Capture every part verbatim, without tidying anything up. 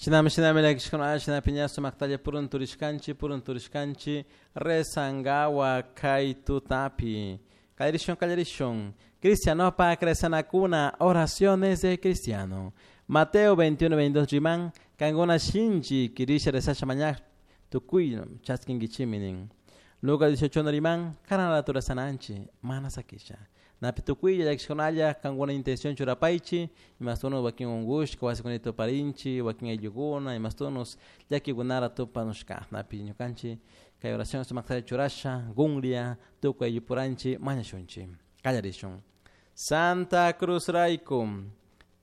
Shinami shinami llakishkuna shina piña sumaktalla purunturishkanchik purunturishkanchik rezangawa kay tutapi. Kallarishun kallarishun. Cristianopak rezanakuna oraciones de cristiano. Mateo veintiuno veintidós riman kankuna shinchi kirisha rezasha mañak tukuy chaskinkichimi nin. Lucas dieciocho riman karan rato rezananchik mana sakisha. Napi tukuylla llakishkunalla kankuna intención churapaychi imastunos wakin unkushka wasikunata tuparinchik wakin ayllukuna imastunos llakikunara tupanushka napi ñukanchik kay oración sumaktalla churasha kunlla tukuy ayllupuranchik mañashunchik kallarishun. Santa Cruz rayku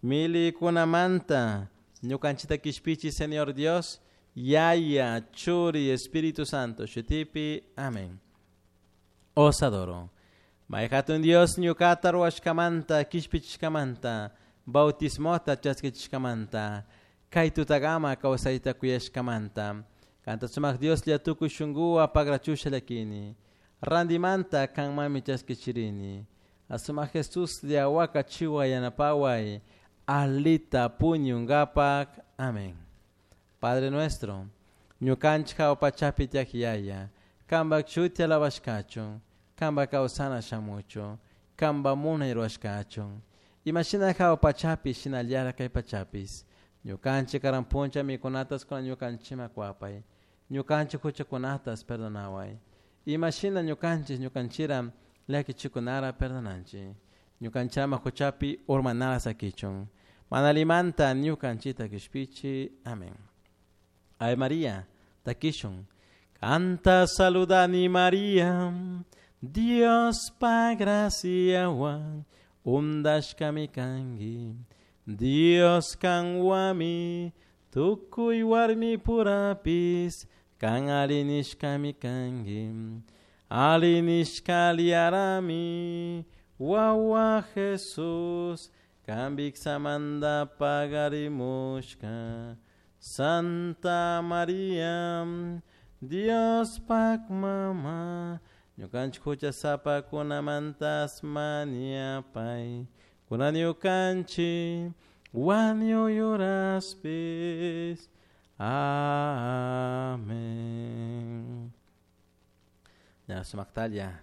milikunamanta ñukanchikta kishpichi Señor Dios Yaya Churi Espíritu Santo shutipi amén. Os adoro. May hatun Dios ñukata ruwashkamanta kishpichishkamanta bautismota chaskichishkamanta kay tutagama kawsayta kuyashkamanta kanta sumak Dios lla tukuy shunkuwa pagrachusha llakini randimanta kanmami chaskichirini asumak Jesus lla wakachiwa yanapaway alita puñunkapak amén. Padre nuestro ñukanchik hawa pachapi tiyak yaya kanpak shuti alabashkachun kanpak kawsana shamuchun kanpak munay ruwashkachun imashina hawa pachapi shinallara kay pachapis ñukanchik karan puncha mikunatas kuna ñukanchikman kuwapay ñukanchik huchakunatas perdonaway imashina ñukanchik ñukanchira llakichikunara perdonanchik ñukanchama huchapi urmanara sakichun mana limanta ñukanchikta kishpichi amén. Ave María takishun kanta saludani María Dios pa graciawan undashkami kanki Dios kanwami tukuy warmi purapis kan arinishkami kanki arinishka liarami wawa Jesus kambiksamanta pagarimushka Santa María Dios pak mama ñukanchik huchasapakunamantas mañapay kunan ñukanchik wañuyuraspis amén. Ya sumaktalla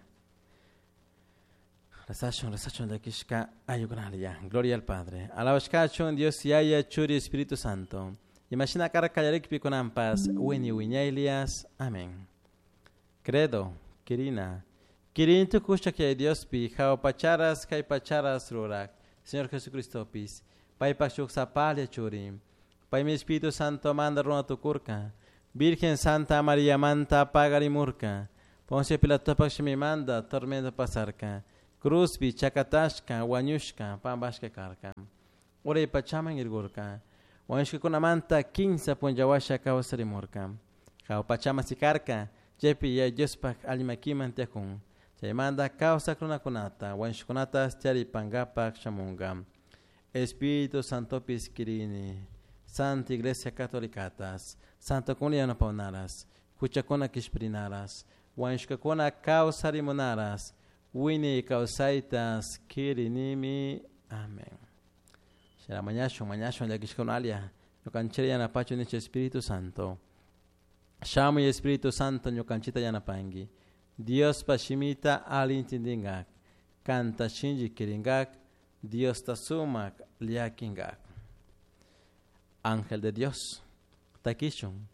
rezashun rezashun llakishka ayllukunalla. Gloria al Padre. Alabashkachun Dios Yaya Churi Espíritu Santo. Imashina kara kallarikpi kunanpas wiñay wiñaylias. Amén. Credo Kirina. Kirin tukushka kay Diospi hawa pacharas kay pacharas rurak Señor Jesucristopis paypak shuk sapalla churi paymi Espíritu Santo manda runa tukurka Virgen Santa María manta pagarimurka Poncio Pilatopak shimimanta tormento pasarka cruzpi chakatashka wañushka pampashka karka uray pachaman irkurka wañushkakunamanta kinsa punllawasha kawsarimurka hawa pachaman sikarka chaypi Yaya Diospak allimakiman tiyakun chaymanta kawsak runakunata wañushkakunata charipankapak shamunka Espíritu Santopis kirini Santa Iglesia Catolicatas Santo kuna yanapawnaras huchakuna kishpirinaras wañushkakuna kawsarimunaras wiñay kawsaytas kirinimi amén. Shara mañashun mañashun llakishkunalla ñukanchik yanapachu nichu Espíritu Santo. Shamuy Espíritu Santo ñukanchikta yanapanki Diospa shimita alli intindinkak kanta shinchi kirinkak Diosta sumak llakinkak. Ángel de Dios takishun